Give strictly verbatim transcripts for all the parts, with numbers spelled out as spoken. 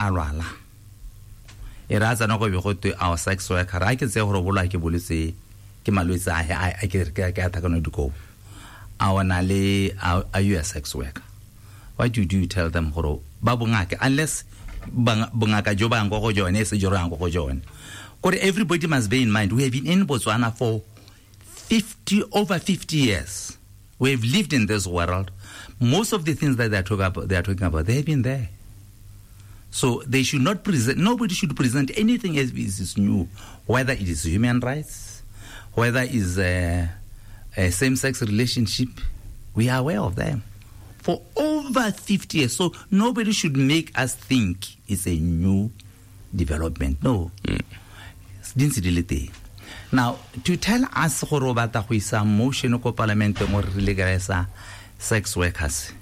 a lwala e ra tsana go be go twe our sex worker a ke tse gore bolwa ke bolwetse ke malwetse a a ke ke ke athakano dikobo a ona le are you a sex worker? What do you do? You tell them gore ba bongaka, unless bongaka jo ba yang go jone se joro yang go jone. Gore everybody must bear in mind we have been in Botswana for fifty over fifty years. We have lived in this world. Most of the things that they are talking about, they are talking about, they have been there. So they should not present, nobody should present anything as is new, whether it is human rights, whether it is a, a same-sex relationship. We are aware of them for over fifty years. So nobody should make us think it's a new development. No. Mm. Now, to tell us gore o batla go isa motion ko parliamenteng gore re legalize sex workers,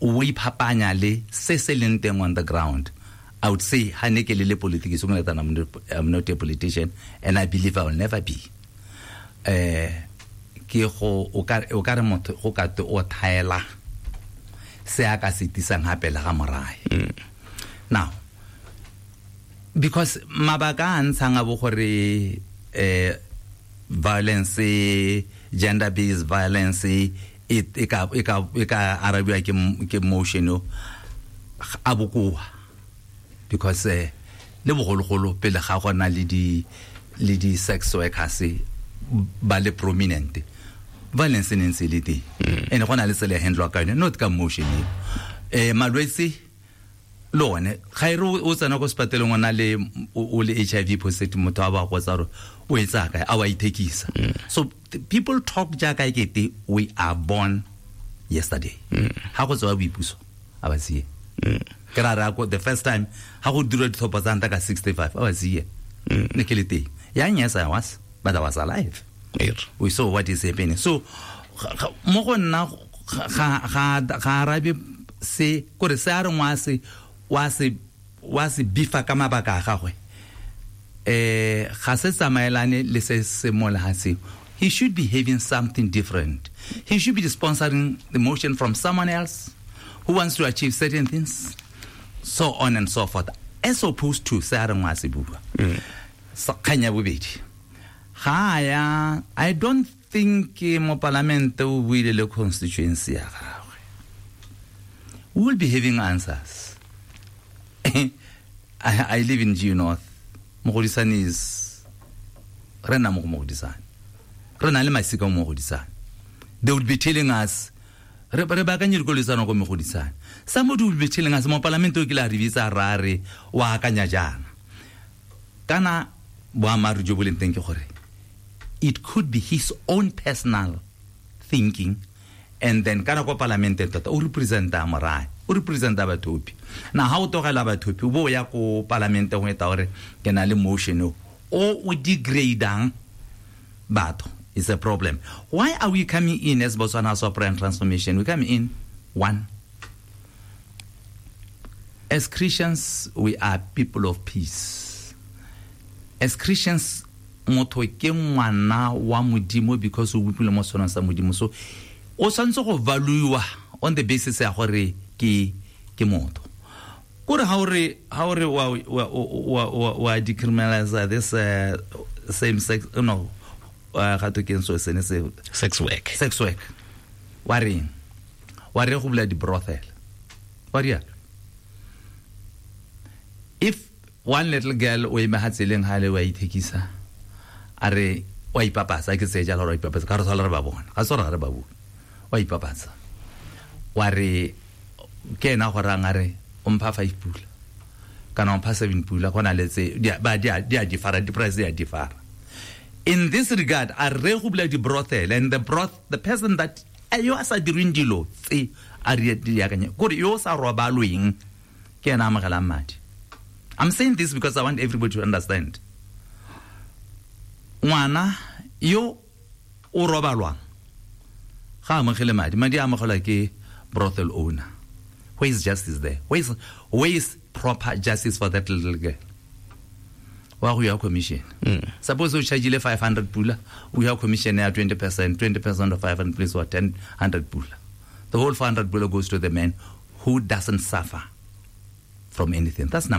o iphapanya le se se leng teng on the ground. I would say ha ne ke le le politics, I'm not a politician and I believe I will never be. Eh ke go o ka o ka re motho go ka te o thaela se a ka se tisang hape le ga morae. Now, because mabaka a ntshang a bo gore eh violence, gender based violence e e ka e ka e ka arabiwa ke ke motion a bokoa, because eh le bogologolo pele ga gona le di le di sex workers ba le prominent, violence ne ntse le teng ene gona le tsela handle ka yone, not ka motion e malwetse le one ga ire o tsena ko sepateleng o na le o le H I V positive, motho a ba go tsa gore o etsa kae a wa ithekisa. So people talk jaaka ekete we are born yesterday. Ha go tswa boipuso a ba sie ke ra ra go the first time ha go dira dithopo tsa nta ka sixty-five a ba sie ne ke le teng yang. Yes, I was, but I was alive. We saw what is happening. So mo go nna ga ga ga arabe se kore se a re ngwa se wa se wa se bifa ka mabaka a gagwe eh ga se tsamaelane le se se mo lehatsheng. He should be having something different. He should be sponsoring the motion from someone else who wants to achieve certain things, so on and so forth, as opposed to se a reng wa se bua. Kgang ya bobedi, ga ya I don't think mo parliament o buile le constituency ya gagwe. We will be having answers. I, I live in G North. Mogodisane is re nna mo go Mogodisane. Re na le masika mo Mogodisane. They would be telling us re re baakanye dikolo tsana ko Mogodisane. Somebody will be telling us mo parliament o kile a re bitsa ra re wa akanya jaana. Kana boammaaruri jo bo leng teng ke gore it could be his own personal thinking, and then kana ko parliament tota o representa morae, o representa bathopi. Na ha o togela bathopi o bo ya ko parliament go eta gore ke na le motion o o degradang batho is a problem. Why are we coming in as Botswana House of Prayer and Transformation? We come in, one, as Christians, we are people of peace. As Christians, motho ke ngwana wa Modimo because o bopilwe mo setshwanong sa Modimo. So o tshwanetse go valuewa on the basis ya gore ke ke motho. Kore ha o re ha o re wa wa wa wa decriminalize this uh, same sex, no ga to ke so sene se sex work, sex work wa reng wa re go bula di brothel wa ria. If one little girl o eme ha tseleng ha le wa ithekisa a re wa ipapatsa, ke tse jalo wa ipapatsa ka re tsala re ba bona ga tsora re ba bua wa ipapatsa wa re ke ena go rang a re o mpha five pula kana o mpha seven pula gona le tse ba di a di a differ, di price di a differ. In this regard, a re go bula di brothel and the broth the person that yo a sa dirweng dilo tse a re di akanya gore yo sa robalweng ke ena amogelang madi. I'm saying this because I want everybody to understand. Ngwana yo o robalwang ga amogele madi, madi a amogelwa ke brothel owner. Where is justice there? Where is, where is proper justice for that little girl? Wa go ya commission. Mm. Suppose o charge five hundred pula, we have commission ya twenty percent, twenty percent of five hundred please or ten hundred pula. The whole four hundred pula goes to the man who doesn't suffer. from anything. That's number